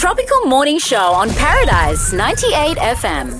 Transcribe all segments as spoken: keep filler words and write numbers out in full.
Tropical Morning Show on Paradise ninety-eight F M.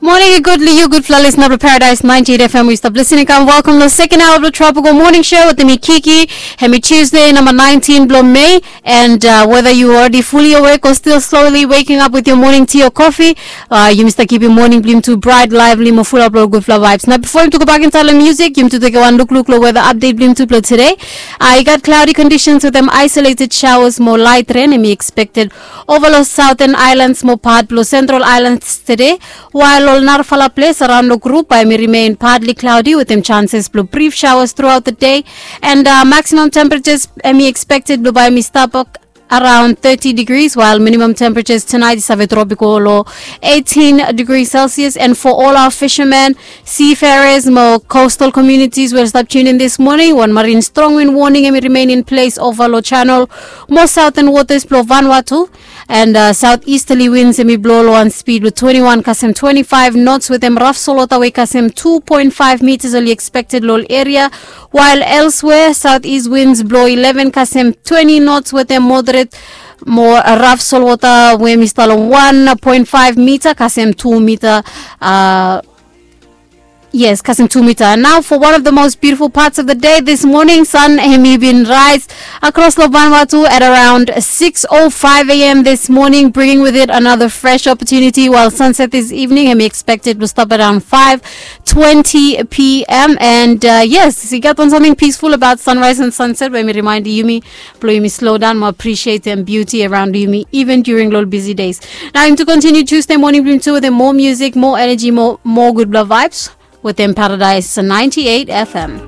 Moning i gud long yu gudfala lisna blong Paradise ninety-eight F M. We stop listening kam welcome long second hour of the Tropical Morning Show with me Kiki. Hemi Tuesday number nineteen blong May. And uh, whether you already fully awake or still slowly waking up with your morning tea or coffee, uh, yumi stap kipim moning blong yumi tu bright, lively mo fulap long gudfala vibes. Nao bifo yumi tu go bak insait long music, yumi tu teke wan lukluk long weather update blong yumi tu blong today. Uh, i gat cloudy conditions with them isolated showers mo light rain hemi expected over long southern islands mo pat blong central islands today. While ol narafala ples around long group bae hemi remain partly cloudy with them chances blong brief showers throughout the day. And uh, maximum temperatures hemi expected blong bae hemi stap around thirty degrees, while minimum temperatures tonight is save drop i go long eighteen degrees Celsius. And for all our fishermen, seafarers mo coastal communities, we'll stop tuning this morning. One marine strong wind warning hemi remain in place over long channel mo southern waters blong Vanuatu. And uh, southeasterly winds hemi blo long wan speed blong twenty-one kasem twenty-five knots with them rough solwota we kasem two point five meters oli expected long ol area. While elsewhere, southeast winds blo eleven kasem twenty knots with them moderate mo rough solwota we hemi stap long one point five meter kasem two meter. Uh, Yes, kasem two meter. And now for one of the most beautiful parts of the day this morning, sun hemi bin rise across long Vanuatu at around six oh five a.m. this morning, bringing with it another fresh opportunity, while sunset this evening hemi expected to stop around five twenty p.m. And uh, yes, i gat wan something peaceful about sunrise and sunset we hemi remind yumi blong yumi slow down mo appreciate them beauty around yumi even during long busy days. Now, yumi tu continue Tuesday morning blong yumi tu with more music, more energy, more, more gudfala vibes with them Paradise ninety-eight F M.